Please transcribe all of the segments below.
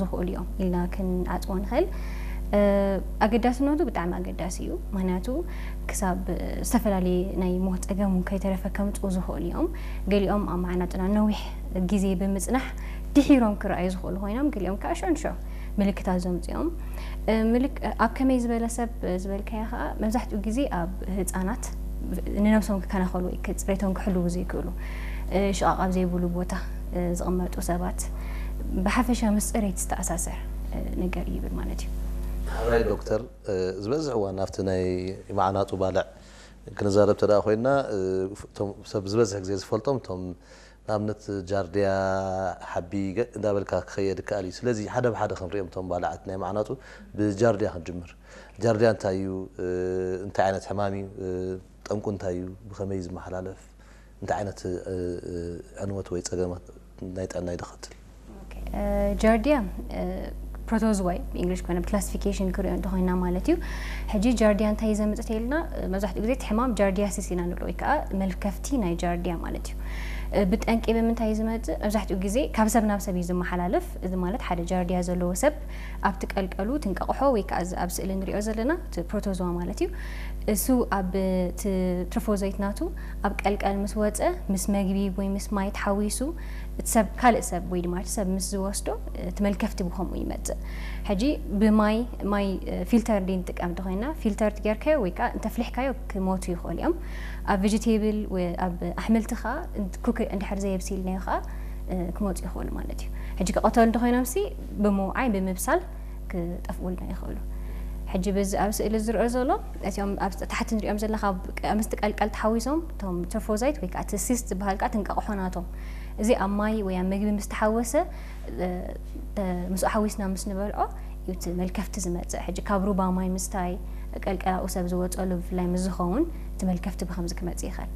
ዝኽእሉ እዮም ኢልና ክንዓጽዎ ንኽእል። ኣገዳስነቱ ብጣዕሚ ኣገዳሲ እዩ። ምኽንያቱ ክሳብ ዝተፈላለየ ናይ ሞት ጸገም እውን ከይተረፈ ከምጽኡ ዝኽእሉ እዮም። ገሊኦም ኣብ መዓናጥና ነዊሕ ግዜ ብምጽናሕ ድሒሮም ክረኣዩ ዝኽእሉ ኮይኖም፣ ገሊኦም ከዓ ሽዑ ንሽዑ ምልክታት ዘምጽኡ እዮም። ኣብ ከመይ ዝበለ ሰብ ዝበልካዮ ከዓ መብዛሕትኡ ግዜ ኣብ ህጻናት ንነብሶም ክከናኸሉ ወይ ጽሬቶም ክሕልዉ ዘይክእሉ፣ ሽቓቕ ኣብ ዘይብሉ ቦታ ዝቕመጡ ሰባት፣ ብሓፈሻ ምስ ጽሬት ዝተኣሳሰር ነገር ይብል ማለት እዩ። ሓራይ ዶክተር፣ ዝበዝሕ እዋን ኣብቲ ናይ መዓናጡ ባልዕ ክንዛረብ ተደኣ ኮይና፣ እቶም ሰብ ዝበዝሕ ግዜ ዝፈልጦም እቶም ንኣብነት ጃርዲያ ሓቢ ገ- እንዳበልካ ክኸየድ ይከኣል እዩ። ስለዚ ሓደ ብሓደ ክንሪኦም እቶም ባልዓት ናይ መዓናጡ ብጃርዲያ ክንጅምር። ጃርዲያ እንታይ እዩ? እንታይ ዓይነት ሕማም እዩ? ጠንቁ እንታይ እዩ? ብኸመይ እዩ ዝመሓላለፍ? እንታይ ዓይነት ዕንወት ወይ ፀገማት ናይ ጥዕና ይደኸትል? ጃርዲያ ፕሮቶዝዋይ ብእንግሊሽ ኮይና ብክላሲፊኬሽን ክሪኦ እንተኮይና ማለት እዩ። ሕጂ ጃርዲያ እንታይ ዘምፅእ ኢልና መብዛሕትኡ ግዜ እቲ ሕማም ጃርዲያሲስ ኢና ንብሎ ወይ ከዓ መልከፍቲ ናይ ጃርዲያ ማለት እዩ። ብጠንቂ ብምንታይ ዝመፅእ? መብዛሕትኡ ግዜ ካብ ሰብ ናብ ሰብ እዩ ዝመሓላለፍ። እዚ ማለት ሓደ ጃርዲያ ዘለዎ ሰብ ኣብቲ ቀልቀሉ ትንቀቕሖ ወይ ከዓ ኣብ ስእሊ ንሪኦ ዘለና ፕሮቶዝዋ ማለት እዩ። እሱ ኣብ ትሮፎዞይት ናቱ ኣብ ቀልቀል ምስ ወፀ ምስ መግቢ ወይ ምስ ማይ ተሓዊሱ እቲ ሰብ ካልእ ሰብ ወይ ድማ እቲ ሰብ ምስ ዝወስዶ እቲ መልከፍቲ ብከምኡ ይመፅእ። ሕጂ ብማይ ማይ ፊልተር ዲ ንጥቀም እንተኮይና ፊልተር ትጌርካዮ ወይ ከዓ እንተፍሊሕካዮ ክሞቱ ይኽእሉ እዮም። ኣብ ቨጀቴብል ኣብ ኣሕምልቲ ከዓ ኩክ እንድሕር ዘየብሲልናዮ ከዓ ክመፁ ይኽእሉ ማለት እዩ። ሕጂ ክቐተሉ እንተኮይኖም ሲ ብምውዓይ ብምብሳል ክጠፍኡልና ይኽእሉ። ሕጂ በዚ ኣብ ስእሊ ዝርኦ ዘሎ እቲኦም ኣብ ታሕቲ ንሪኦም ዘለና ካብ ምስቲ ቀልቀል ተሓዊሶም እቶም ትሮፎዛይት ወይ ከዓ እቲ ሲስት ዝበሃል ከዓ ትንቃቕሖ ናቶም እዚ ኣብ ማይ ወይ ኣብ ምግቢ ምስ ተሓወሰ ምስኡ ሓዊስና ምስ ንበልዖ እዩ እቲ መልከፍቲ ዝመፅእ። ሕጂ ካብ ሩባ ማይ ምስታይ ቀልቀላኡ ሰብ ዝወፀሉ ብፍላይ ምስ ዝኸውን እቲ መልከፍቲ ብከምዚ ክመፅእ ይኽእል።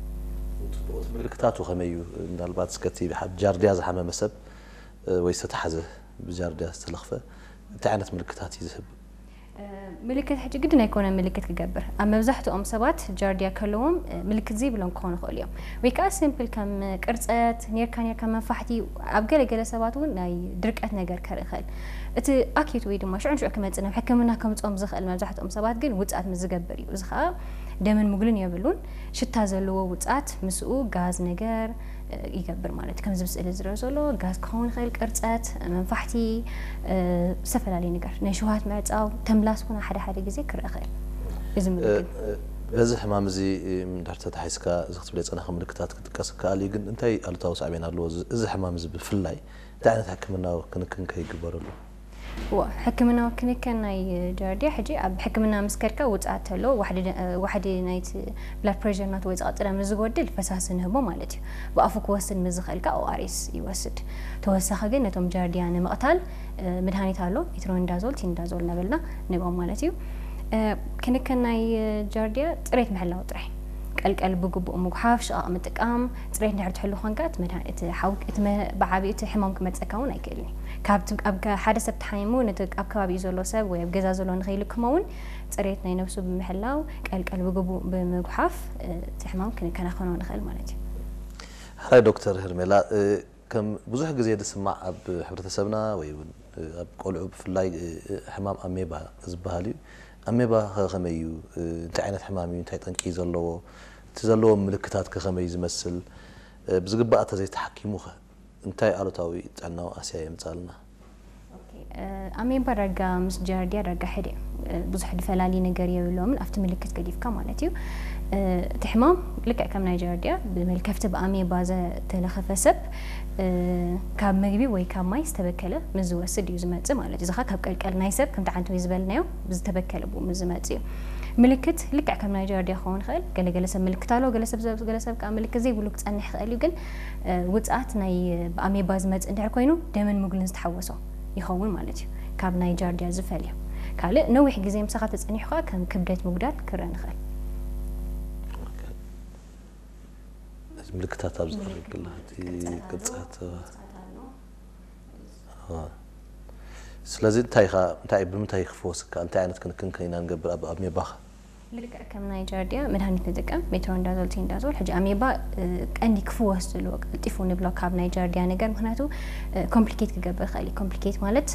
ምልክታቱ ከመይ እዩ? ምናልባት እስከ እቲ ጃርዲያ ዝሓመመ ሰብ ወይ ዝተታሕዘ ብጃርዲያ ዝተለኽፈ እንታይ ዓይነት ምልክታት እዩ ዝህብ? ምልክት ሕጂ ግድን ኣይኮነ ምልክት ክገብር ኣብ መብዛሕትኦም ሰባት ጃርዲያ ከለዎም ምልክት ዘይብሎም ክኾኑ ይኽእሉ እዮም። ወይ ከዓ ሲምፕል ከም ቅርፀት ኔርካ ኔርካ መንፋሕቲ ኣብ ገለገለ ሰባት እውን ናይ ድርቀት ነገር ከርኢ ይኽእል። እቲ ኣኪዩት ወይ ድማ ሽዑ ንሽዑ ክመፅእ ናብ ሕክምና ከምፅኦም ዝኽእል መብዛሕትኦም ሰባት ግን ውፅኣት ምስ ዝገብር እዩ። እዚ ከዓ ደምን ምግሉን የብሉን። ሽታ ዘለዎ ውፅኣት ምስኡ ጋዝ ነገር ይገብር ማለት እዩ። ከምዚ ብስእሊ ዝረአ ዘሎ ጋዝ ክኸውን ይኽእል፣ ቅርፀት፣ መንፋሕቲ፣ ዝተፈላለዩ ነገር ናይ ሽውሃት ምዕፃው፣ ተምላስ እውን ሓደ ሓደ ግዜ ክረአ ይኽእል። እዚ ምልክት በዚ ሕማም እዚ እንድሕር ተታሒዝካ እዚ ክትብለ ዝፀናሕካ ምልክታት ክጥቀስ ይከኣል እዩ፣ ግን እንታይ ኣሉታዊ ሳዕቤን ኣለዎ? እዚ ሕማም እዚ ብፍላይ እንታይ ዓይነት ሕክምናዊ ክንክን ከ ይግበረሉ? ሕክምናዊ ክንክን ናይ ጃርዲያ ሕጂ ኣብ ሕክምና ምስ ከድካ ውፅኣት ተሎ ዋሕዲ ናይቲ ብላድ ፕሬር ናቱ ወይ ዝቐፅለ ምስ ዝጎድል ፈሳሲ ንህቦ ማለት እዩ። ብኣፉ ክወስድ ምስ ዝኽእል ከዓ ኦኣርኤስ ይወስድ። ተወሳኺ ግን ነቶም ጃርዲያ ንምቕታል መድሃኒት ኣሎ፣ ሜትሮኒዳዞል፣ ቲኒዳዞል እናበልና ንህቦም ማለት እዩ። ክንክን ናይ ጃርዲያ ፅሬት ምሕላው ጥራይ፣ ቀልቀል ብግቡእ ምጉሓፍ፣ ሽቓቕ ምጥቃም፣ ፅሬት እንድሕር ትሕሉ ኮንካ እቲ መድሃኒት እቲ ሓው እቲ ብዓብዩ እቲ ሕማም ክመፀካ እውን ኣይክእልን እዩ። ካብ ሓደ ሰብ ተሓሚሙ ነቲ ኣብ ከባቢኡ ዘሎ ሰብ ወይ ኣብ ገዛ ዘሎ ንኸይልክሞ እውን ፅሬት ናይ ነብሱ ብምሕላው ቀልቀል ብግቡእ ብምጉሓፍ እቲ ሕማም ክንከናኸኖ ንኽእል ማለት እዩ። ሕራይ ዶክተር ህርሜላ፣ ከም ብዙሕ ግዜ ዝስማዕ ኣብ ሕብረተሰብና ወይ እውን ኣብ ቆልዑ ብፍላይ ሕማም ኣሜባ ዝበሃል እዩ። ኣሜባ ከ ከመይ እዩ? እንታይ ዓይነት ሕማም እዩ? እንታይ ጠንቂ እዩ ዘለዎ? እቲ ዘለዎ ምልክታት ከ ከመይ እዩ ዝመስል? ብዝግባእ እንተዘይተሓኪሙ ከ እንታይ ኣሉታዊ ጥዕናዊ ኣስያ የምፅኣልና? ኣሜባ ዳርጋ ምስ ጃርዲያ ዳርጋ ሕደ ብዙሕ ድፈላሊ ነገር የብሎምን ኣብቲ ምልክት ገዲፍካ ማለት እዩ። እቲ ሕማም ልክዕ ከም ናይ ጃርዲያ ብመልከፍቲ ብኣሜባ ዘተለኸፈ ሰብ ካብ ምግቢ ወይ ካብ ማይ ዝተበከለ ምስ ዝወስድ እዩ ዝመፅእ ማለት እዩ። እዚ ካብ ቀልቀል ናይ ሰብ ከምቲ ዓንተወይ ዝበልናዮ ዝተበከለ ብኡ ምስ ዝመፅእ እዩ። ምልክት ልክዕ ከም ናይ ጃርዲያ ክኸውን ይኽእል። ገለገለ ሰብ ምልክት ኣለዎ፣ ገለ ሰብ ገለ ሰብ ከዓ ምልክት ዘይብሉ ክፀንሕ ይኽእል እዩ። ግን ውፅኣት ናይ ብኣሜባ ዝመፅእ እንድሕር ኮይኑ ደምን ምግሉን ዝተሓወሶ ይኸውን ማለት እዩ። ካብ ናይ ጃርዲያ ዝፈልዮ ካልእ ነዊሕ ግዜ ምሳኻ ተፀኒሑ ከዓ ከም ክብደት ምጉዳል ክረአ ንኽእል። ምልክታት ኣብ ዝኽእል ቅርፀት ስለዚ እንታይ ኢኻ እንታይ ብምንታይ ክፍወስ ይከኣል? እንታይ ዓይነት ክንክን ከ ኢና ንገብር ኣብ ኣሜባኻ? ልክዕ ከም ናይ ጃርዲያ መድሃኒት ንጥቀም ሜትሮንዳዞል ቲንዳዞል። ሕጂ ኣሜባ ቀንዲ ክፍወስ ዘለዎ ቀልጢፉ ንብሎ ካብ ናይ ጃርዲያ ነገር ምክንያቱ ኮምፕሊኬት ክገብር ይኽእል እዩ። ኮምፕሊኬት ማለት